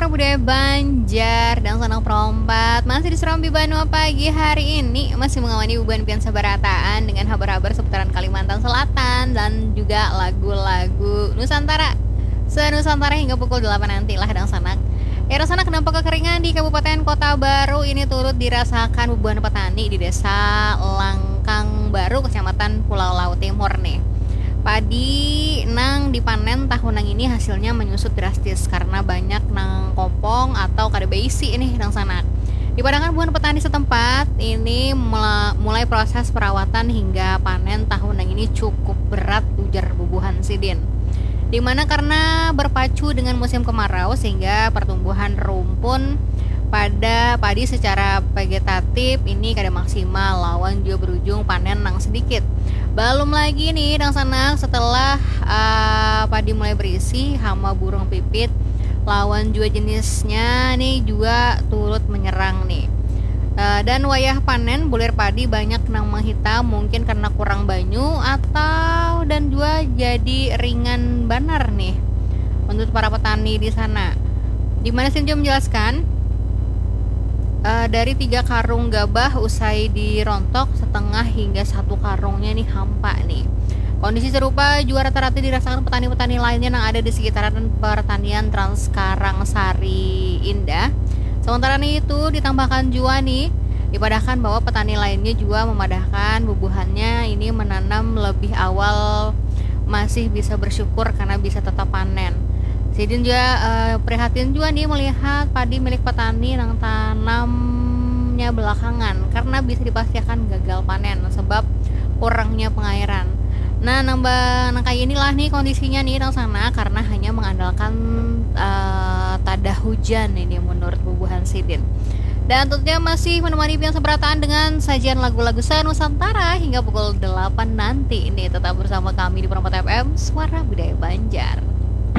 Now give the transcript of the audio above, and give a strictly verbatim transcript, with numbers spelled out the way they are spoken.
Suara Budaya Banjar dan Sanak Perompat masih di Serambi Banua pagi hari ini, masih mengawani bubuhan pian sabarataan dengan habar-habar seputaran Kalimantan Selatan dan juga lagu-lagu Nusantara. Senusantara hingga pukul delapan nanti lah dangsanak. Era sanak dampak kekeringan di Kabupaten Kota Baru ini turut dirasakan bubuhan petani di Desa Langkang Baru, Kecamatan Pulau Laut Timur nih. Padi nang dipanen tahun nang ini hasilnya menyusut drastis karena banyak nang kopong atau kada beisi nih dangsanak. Dipadahakan bubuhan petani setempat ini mula- mulai proses perawatan hingga panen tahun nang ini cukup berat, ujar bubuhan sidin. Di mana karena berpacu dengan musim kemarau sehingga pertumbuhan rumpun pada padi secara vegetatif ini kada maksimal lawan jua berujung panen nang sedikit. Belum lagi nih dangsanak, setelah uh, padi mulai berisi, hama burung pipit lawan jua jenisnya nih juga turut menyerang nih. Uh, dan wayah panen bulir padi banyak nang menghitam, mungkin karena kurang banyu atau dan juga jadi ringan banar nih menurut para petani di sana. Di mana Sinjo menjelaskan, uh, dari tiga karung gabah usai dirontok, setengah hingga satu karungnya nih hampa nih. Kondisi serupa juga rata-rata dirasakan petani-petani lainnya yang ada di sekitaran pertanian Trans Karangsari Indah. Sementara nih itu ditambahkan juga nih, dipadahkan bahwa petani lainnya juga memadahkan bubuhannya ini menanam lebih awal, masih bisa bersyukur karena bisa tetap panen. Sidin juga uh, prihatin juga nih melihat padi milik petani yang tanamnya belakangan karena bisa dipastikan gagal panen sebab kurangnya pengairan. Nah, nambah nang kayak inilah nih kondisinya nih dangsanak karena hanya mengandalkan uh, tada hujan ini menurut bubuhan sidin. Dan tentunya masih menemani pian sabarataan dengan sajian lagu-lagu Senusantara hingga pukul delapan nanti. Ini tetap bersama kami di Perompat F M, Suara Budaya Banjar.